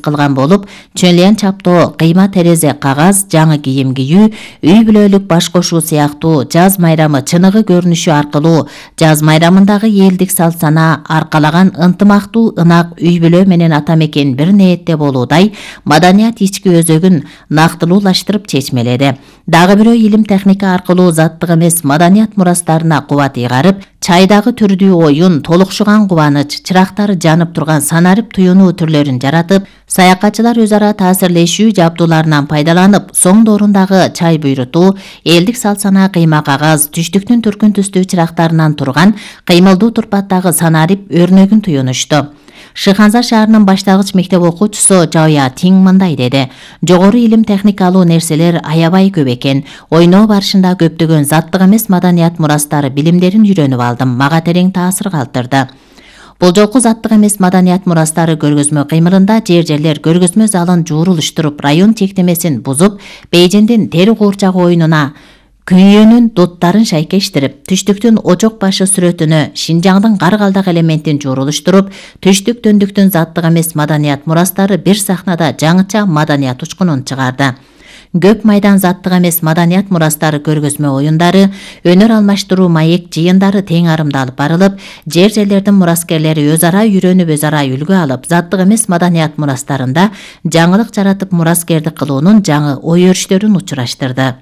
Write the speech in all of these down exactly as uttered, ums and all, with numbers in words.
кылган болуп, чөнлен чаптоо, кыйма терезе, кагаз, жаңы кийим кийүү, үй бүлөлүк баш кошуу сыяктуу жаз майрамы чыныгы көрүнүшү аркылуу жаз майрамындагы элдик салт сана аркалаган ынтымактуу ынак үй бүлө менен ата мекен бир ниетте болуудай маданият ички өзөгүн нактылуулаштырып чечмеледи. Дагы бирөө илим техника аркылуу заттык эмес маданият мурастарына кубат ыйгарып, чайдагы түрдүү оюн, толукшуган кубаныч, чырактары жанып турган санарип туюнуу түрлөрүн жаратып, саякатчылар өз ара таасирлешүү жабдууларынан пайдаланып, соң доорундагы чай буйрутуу, элдик салт сана кыйма кагаз, түштүктүн түркүн түстүү чырактарынан турган кыймылдуу турпаттагы санарип өрнөгүн туюнушту. Шыханза шаарынын баштагыч мектеп окуучусу Жабыя Тиң мындай деди: жогору илим техникалуу нерселер аябай көп экен. Ойноо барышында көптөгөн заттык эмес маданият мурастары билимдерин үйрөнүп алдым. Мага терең таасир калтырды. Бул жолку заттык эмес маданият мурастары көргөзмө кыймылында жер-жерлер көргөзмө залын жуурулуштуруп, район чектемесин бузуп, Бейжиңдин тери куурчагы оюнуна күйөөнүн дуттарын шайкештирип, түштүктүн очок башы сүрөтүнө Шинжаңдын каргалдак элементин жуурулуштуруп, түштүк дөндүктүн заттык эмес маданият мурастары бир сахнада жаңыча маданият учкунун чыгарды. Көп майдан заттык эмес маданият мурастары көргөзмө оюндары, өнөр алмаштыруу маек жыйындары тең арымда алып барылып, жер-жерлердин мураскерлери өз ара үйрөнүп, өз ара үлгү алып, заттык эмес маданият мурастарында жаңылык жаратып мураскердик кылуунун жаңы ой өрүштөрүн учураштырды.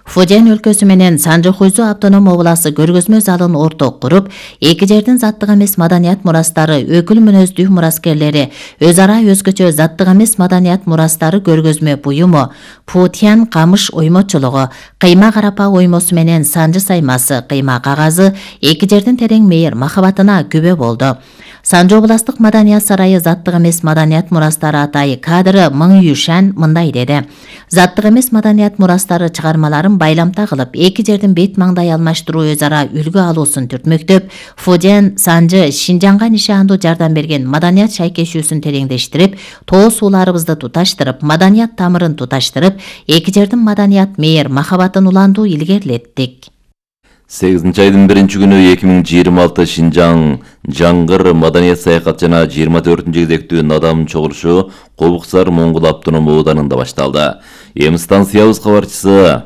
Фуден өлкөсү менен Санжохуйзу автоном обласы көргөзмө залын орток куруп, эки жердин заттык эмес маданият мурастары өкүл мүнөздүү мураскерлери өз ара өзгөчө заттык эмес маданият мурастары көргөзмө буюму, Путян камыш оймочулугу, кыйма карапа оймосу менен санжы саймасы, кыйма кагазы эки жердин терең мейир махабатына күбө болду. Санжы областык маданият сарайы заттык эмес маданият мурастары атайы кадры Мың Юшан мындай деди: заттык эмес маданият мурастары чыгармаларын байламта кылып, эки жердин бет маңдай алмаштыруу, өз ара үлгү алуусун түртмөктөп, Фуден, Санжы, Шинжаңга нишандуу жардам берген маданият шайкешүүсүн тереңдештирип, тоо сууларыбызды туташтырып, маданият тамырын туташтырып, эки жердин маданият мейир махабатын уландуу илгерилеттик. сегизинчи айдын биринчи күнү эки миң жыйырма алты Шинжаң Жаңгыр маданият саякат жана жыйырма төртүнчү кезектүү надам чогулушу Кобуксар Моңгул автоном ооданында башталды. Эми станциябыз кабарчысы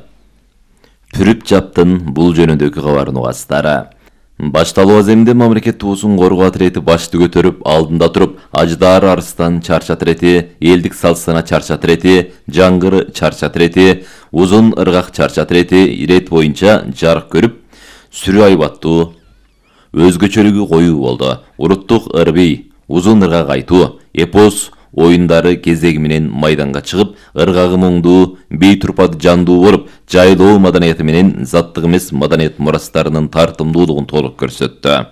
Пүрүп Жаптын бул жөнүндөгү кабарын угасыздар. Башталуу аземинде мамлекет туусун коргоо атирети башты көтөрүп, алдында туруп, Аждар Арыстан чарч атирети, элдик салт сана чарч атирети, Жаңгыр чарч атирети, Узун ыргак чарч атирети ирет боюнча жарык көрүп, сүрү айбаттуу, өзгөчөлүгү коюу болду. Уруттук ырбий, узун ыргак айтуу, эпос оюндары кезеги менен майданга чыгып, ыргагы моңдуу, бей турпаты жандуу болуп, жайлоо маданияты менен заттык эмес маданият мурастарынын тартымдуулугун толук көрсөттү.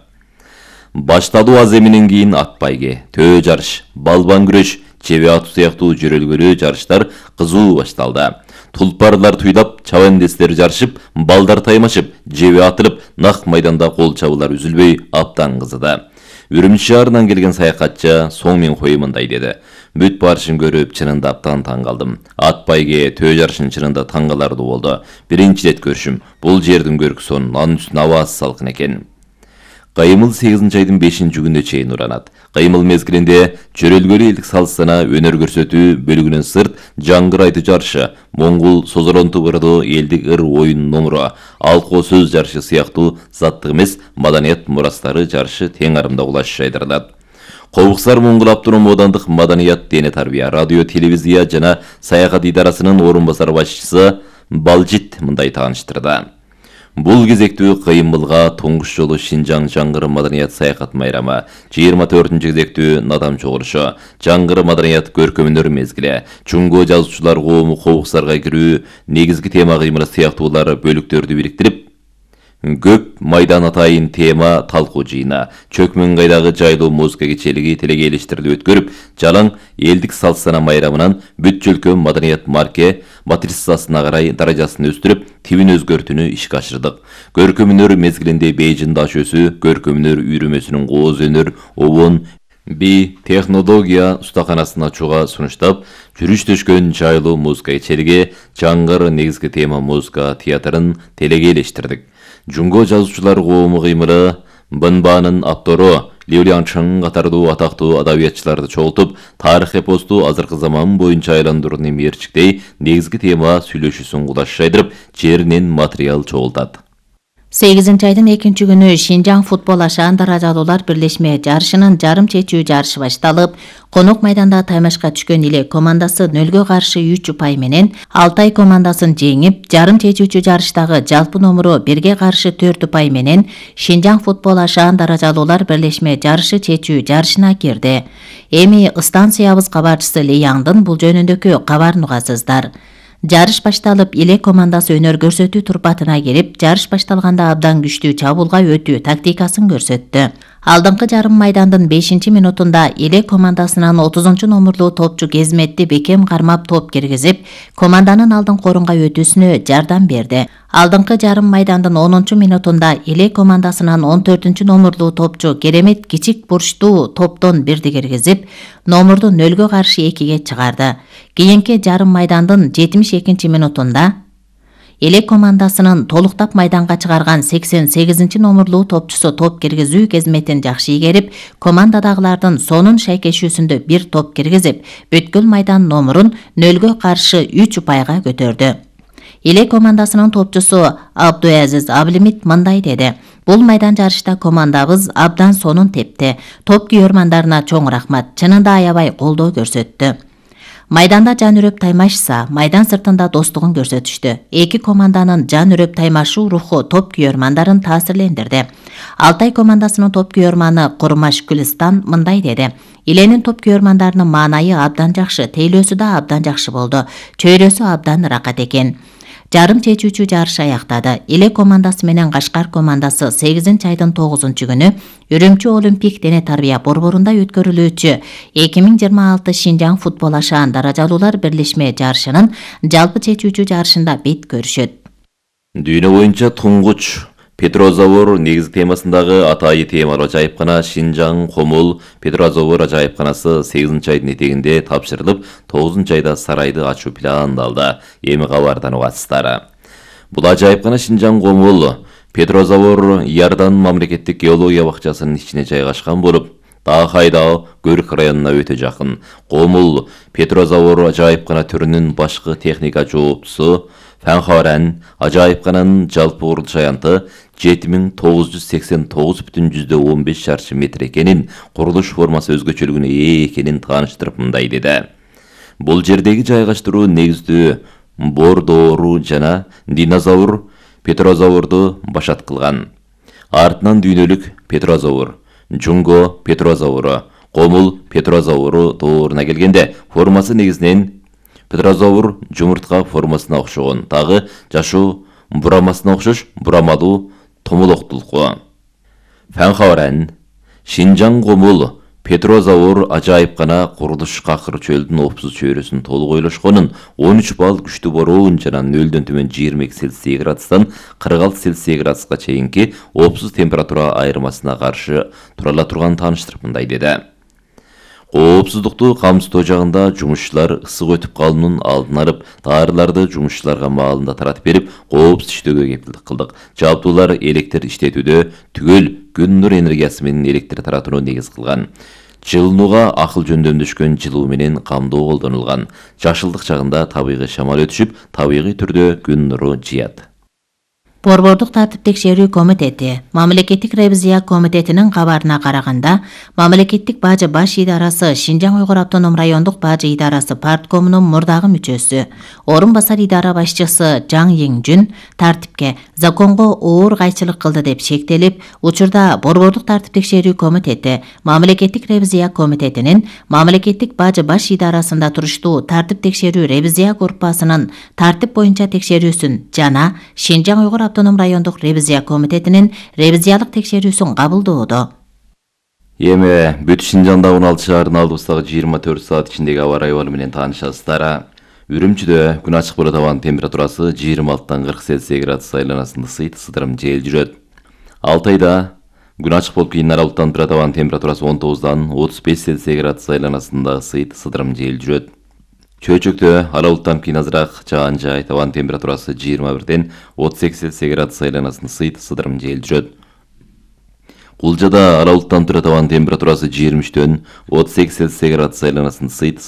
Башталуу аземинен кийин ат байге, төө жарыш, балбан күрөш, чебе атуу сыяктуу жөрөлгөлүү жарыштар кызуу башталды. Тулпарлар туйлап, чабандестер жарышып, балдар таймашып, жебе атылып, нак майданда кол чабуулар үзүлбөй абдан кызыды. Үрүмчү шаарынан келген саякатчы соң мен коyu мындай деди: бүт барышын көрүп, чынында абдан таң калдым. Ат байге, төө жарышын чынында таң каларлуу болду. Биринчи рет көрүшүм. Бул жердин көркүсөн, анын үстүнө абасы салкын экен. Кыймыл сегизинчи айдын бешинчи күнүнө чейин уранат. Кыймыл мезгилинде чөрөлгөлүү элдик салт сана өнөр көрсөтүү бөлүгүнөн сырт Жаңгыр айтуу жарышы, Моңгул созоронту бырдоо элдик ыр оюн номуру, алко сөз жарышы сыяктуу заттык эмес маданият мурастары жарышы тең арымда улаш жайдырылат. Кобуксар Моңгул автоном оодандык маданият, дене тарбия, радио, телевизия жана саякат идарасынын орун басар башчысы Балжит мындай тааныштырды. Бул кезектүү кыймылга туңгуш жолу Шинжаң Жаңгыр маданият саякат майрамы, жыйырма төртүнчү кезектүү надам чогулушу, Жаңгыр маданият көркөмөнөр мезгили, чуңго жазуучулар коому Кобуксарга кирүү, негизги тема кыймылы сыяктуулар бөлүктөрдү бириктирип, көп майдан атайын тема талкуу жыйына, Чөкмөнгайдагы жайлуу музыка кечелиги телегейлештирилип өткөрүп, жалаң элдик салт сана майрамынан бүт жөлкө маданият марке матрицасына карай даражасын өстүрүп, тибин өзгөртүүнү ишке ашырдык. Көркөмөнөр мезгилинде Бейжиң даш өсү, көркөмөнөр үйрөмөсүнүн кооз өнөр, обон, би технология устаканасын ачууга сунуштап, жүрүштөшкөн жайлуу музыка кечелиги, Жаңгыр негизги тема музыка театрын телегейлештирдик. Жунго жазуучулар коому кыймылы Бынбанын автору Liu Liangcheng катардуу атактуу адабиятчыларды чогултуп, тарых эпосту азыркы заман боюнча айландырууну мерчиктей негизги тема сүйлөшүүсүн кудаш жайдырып, жеринен материал чогултат. сегизинчи айдын экинчи күнү Шинжаң футбол ашаан даражалуулар бирлешме жарышынын жарым чечүү жарышы башталып, конок майданда таймашка түшкөн Иле командасы нөлгө каршы үч упай менен Алтай командасын жеңип, жарым чечүүчү жарыштагы жалпы номуру бирге каршы төрт упай менен Шинжаң футбол ашаан даражалуулар бирлешме жарышы чечүү жарышына кирди. Эми станциябыз кабарчысы Ли Яңдын бул жөнүндөгү кабарын угасыздар. Жарыш башталып, Иле командасы өнөр көрсөтүү турпатына кирип, жарыш башталганда абдан күчтүү чабуулга өтүү тактикасын көрсөттү. Алдыңкы жарым майдандын бешинчи минутунда Иле командасынын отузунчу номурлуу топчу Кезметти бекем кармап топ киргизип, команданын алдыңкы орунга өтүүсүнө жардам берди. Алдыңкы жарым майдандын онунчу минутунда Иле командасынын он төртүнчү номурлуу топчу Керемет кичик бурчтуу топтон бирди киргизип, номурду нөлгө каршы экиге чыгарды. Кийинки жарым майдандын жетимиш экинчи минутунда Иле командасынын толуктап майданга чыгарган сексен сегизинчи номурлуу топчусу топ киргизүү кезметин жакшы ийгерип, командадагылардын сонун шайкешүүсүндө бир топ киргизип, бүткүл майдан номурун нөлгө каршы үч упайга көтөрдү. Иле командасынын топчусу Абдуазиз Аблимит мындай деди: "Бул майдан жарышта командабыз абдан сонун тепти. Топ күйөрмандарына чоң рахмат. Чынында аябай колдоо көрсөттү. Майданда жан үрөп таймашса, майдан сыртында достугун көрсөтүштү. Эки команданын жан үрөп таймашуу руху топ күйөрмандарын таасирлендирди." Алтай командасынын топ күйөрманы Курмаш Күлистан мындай деди: "Иленин топ күйөрмандарынын маанайы абдан жакшы, тейлөөсү да абдан жакшы болду. Чөйрөсү абдан ракат экен." Жарым чечүүчү жарыш аяктады. Иле командасы менен Кашкар командасы сегизинчи айдын тогузунчу күнү Үрүмчү Олимпик дене тарбия борборунда өткөрүлүүчү эки миң жыйырма алты Шинжаң футбол ашаан даражалуулар бирлешме жарышынын жалпы чечүүчү жарышында бет көрүшөт. Дүйнө боюнча туңгуч Петрозавр негизги темасындагы атайы темалуу ажайыпкана Шинжаң Комул Петрозавр ажайыпканасы сегизинчи айдын этегинде тапшырылып, тогузунчу айда сарайды ачуу пландалды. Эми кабардан угасыздар. Бул ажайыпкана Шинжаң Комул Петрозавр Иордан мамлекеттик геология бакчасынын ичине жайгашкан болуп, Таахайда Көрк районуна өтө жакын. Комул Петрозавр ажайыпкана түрүнүн башкы техника жооптусу Фанхоран ажайыпкананын жалпы курулуш аянты жети миң тогуз жүз сексен тогуз бүтүн жүздөн он беш чарчы метр экенин, курулуш формасы өзгөчөлүгүнө ээ экенин тааныштырып мындай деди: "Бул жердеги жайгаштыруу негиздүү бордоору жана динозавр Петрозаврду башат кылган. Артынан дүйнөлүк Петрозавр, Жунго Петрозавру, Комул Петрозавру тооруна келгенде формасы негизинен Петрозавр жумуртка формасына окшогон, тагы жашоо бурамасына окшош бурамалуу томолоктулку. Фанхоран, Шинжаң Комул Петрозавр ажайыпкана курулуш какыр чөлдүн опсуз чөйрөсүн толук ойлошконун, он үч балл күчтүү бороон жана нөлдөн төмөн жыйырма эки Цельсий градустан кырк алты Цельсий градуска чейинки опсуз температура айырмасына каршы тура ала турганын тааныштырып мындай деди: "Коопсуздукту камсыздоо жагында жумушчулар ысык өтүп калуунун алдын алып, таарыларды жумушчуларга маалында таратып берип, коопсуз иштөөгө кепилдик кылдык. Жабдуулар электр иштетүүдө түгөл күн нур энергиясы менен электр таратууну негиз кылган. Жылынууга акыл жөндөмдөшкөн жылуу менен камдоо колдонулган. Жашылдык жагында табигый шамал өтүшүп, табигый түрдө күн нуру жыят." Борбордук тартип текшерүү комитети Мамлекеттик ревизия комитетинин кабарына караганда, Мамлекеттик бажы баш идарасы Шинжаң Уйгур автоном райондук бажы идарасы парткомунун мурдагы мүчөсү, орун басар идара башчысы Жаң Еңжүн тартипке законго оор кайчылык кылды деп шектелип, учурда Борбордук тартип текшерүү комитети Мамлекеттик ревизия комитетинин Мамлекеттик бажы баш идарасында туруштуу тартип текшерүү ревизия группасынын тартип боюнча текшерүүсүн жана Шинжаң Уйгур автоном райондук ревизия комитетинин ревизиялык текшерүүсүн кабылдоодо. Эми бүт Шинжаңда он алты шаардын алдыбыздагы жыйырма төрт саат ичиндеги аба ырайы менен таанышасыздар. Үрүмчүдө күн ачык болот, абанын температурасы жыйырма алтыдан кырк Цельсий градус айланасында сыйт сыдырым жел жүрөт. Алтайда күн ачык болуп кийин аралыктан турат, абанын температурасы он тогуздан отуз беш Цельсий градус айланасында сыйт сыдырым жел жүрөт. Чөйчөктө аралыктан кийин азыраак жаан жайт, абанын температурасы жыйырма бирден отуз эки Цельсий градус айланасында сыйт сыдырым жел жүрөт. Кулжада ара булуттан турат абанын температурасы жыйырма үчтөн отуз сегиз Цельсий градус айланасын ысыйт.